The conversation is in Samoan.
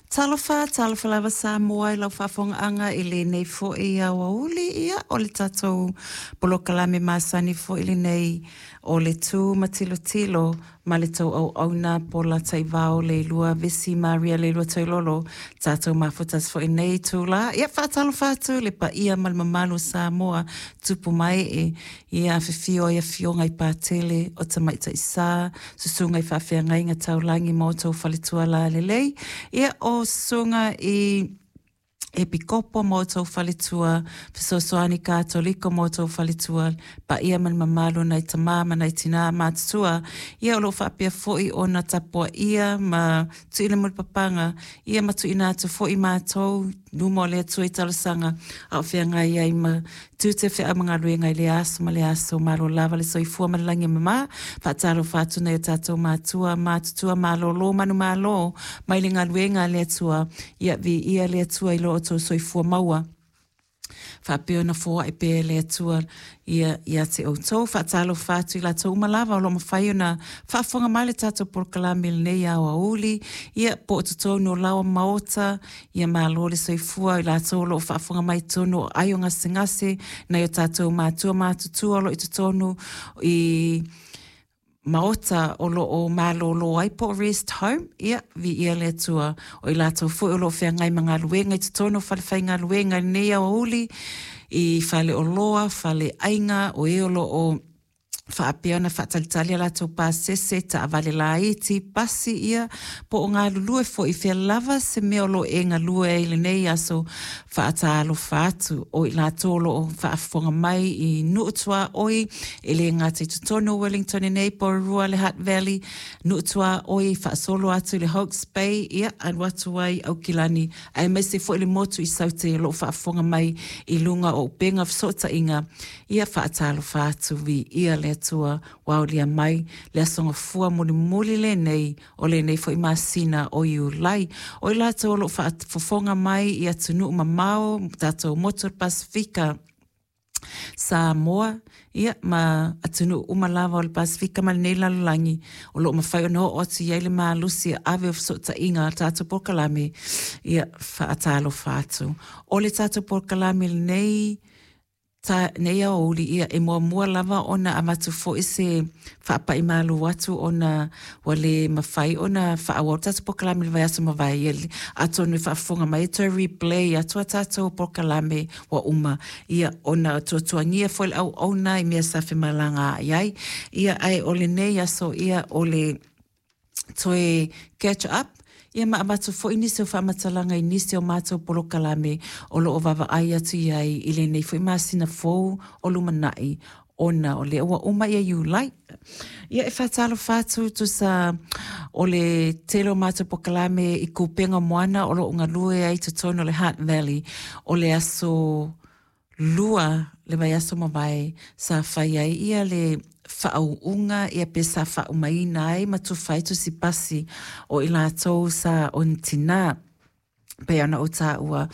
Talofa, talofa lava Samoa i lau faafogaaga i lenei foi aoauli, ia o le tatou polokalame masani foi lenei o le Tu ma Tilotilo ma le tou auauna Paula Taivao Leilua Vesi Maria Leilua Toilolo, tatou mafutasi foi nei itula. Ia faatalofa atu i le paia ma le mamalu o Samoa, tupu ma ee, ia afifio ai afioga i Patele o Tamaitai Sa, susuga i faafeagaiga taulagi ma outou faletua lalelei, ia o susuga i Epikopo ma outou faletua, fesoasoani Katoliko ma outou faletua, paia ma le mamalu o nai tama ma nai tina matutua, ia o lo o faapea foi ona tapuaia ma tuuina mulipapaga, ia ma tuuina atu foi matou luma o le Atua i talosaga a o feagai ai ma tiute feau ma galuega i lea aso ma lea aso. Malo lava le soifua ma le lagi e mama. Faatalofa atu nai o tatou matua, matutua, malolo, manumalo mai le galuega a le Atua. Ia viia le Atua i lo outou soifua maua. Faapea ona foai pea e le Atua ia ia te outou. Faatalofa atu i latou uma lava o lo o mafai ona faafofoga mai le tatou polokalame i lenei aoauli, ia po o totonu o laoa maota, ia malo le soifua i latou o lo o faafofoga mai i totonu o aio gasegase, nai o tatou matua matutua o lo o i totonu i maota o lo o malolo ai po o rest home, ia, viia le Atua. O i latou foi o lo o feagai ma galuega i totonu o falefaigaluega i lenei aoauli, i faleoloa, faleaiga, o e o lo o faapea ona faatalitali a latou pasese, taavale laiti, pasi, ia, po o galulue foi i fea lava se mea o lo o e galue ai i lenei aso, faatalofa atu. O i latou o lo o faafofoga mai i nuu tuaoi, e le gata i totonu o Wellington i nei, Porirua, le Hutt Valley, nuu tuaoi faasolo atu i le Hawke's Bay, ia, alu atu ai i Aukilani, aemaise foi le motu i Saute o lo o faafofoga mai i luga o upega o fesootaiga, ia faatalofa atu, viia le Atua, ua aulia mai le Aso Gafua mulimuli lenei o lenei foi masina o Iulai. O i latou o lo o faafofoga mai i atunuu mamao, tatou motu o le Pasefika, Samoa, ia, ma atunuu uma lava o le Pasefika ma lenei lalolagi, o lo o mafai ona oo atu i ai le malosi e ave o fesootaiga a le tatou polokalame, ia, faatalofa atu. O le tatou polokalame lenei, ta nei aoauli, ia, e muamua lava ona avatu foi se faapai malu atu ona ua le mafai ona faaauau le tatou polokalame i le vaiaso mavae, ia, atonu e faafofoga mai e toe replay atu a tatou polokalame ua uma, ia, ona tuatuagia foi le auauna i mea sa femalagaai ai, ia, ae o lenei aso, ia, o le toe catch up, ia ma avatu foi nisi o faamatalaga i nisi o matou polokalame o lo o vaavaai atu i ai i lenei foi masina fou o lumanai ona o lea ua uma ia Iulai. Ia e faatalofa atu tusa o le tele o matou polokalame i Kupenga Moana o lo o galue ai i totonu o le Hutt Valley o le aso 2 le vaiaso mavae sa fai ai ia le faauuga ia pe sa faaumaina ai ma tufa ai tusi pasi o i latou sa onitinā pei ona ou taua.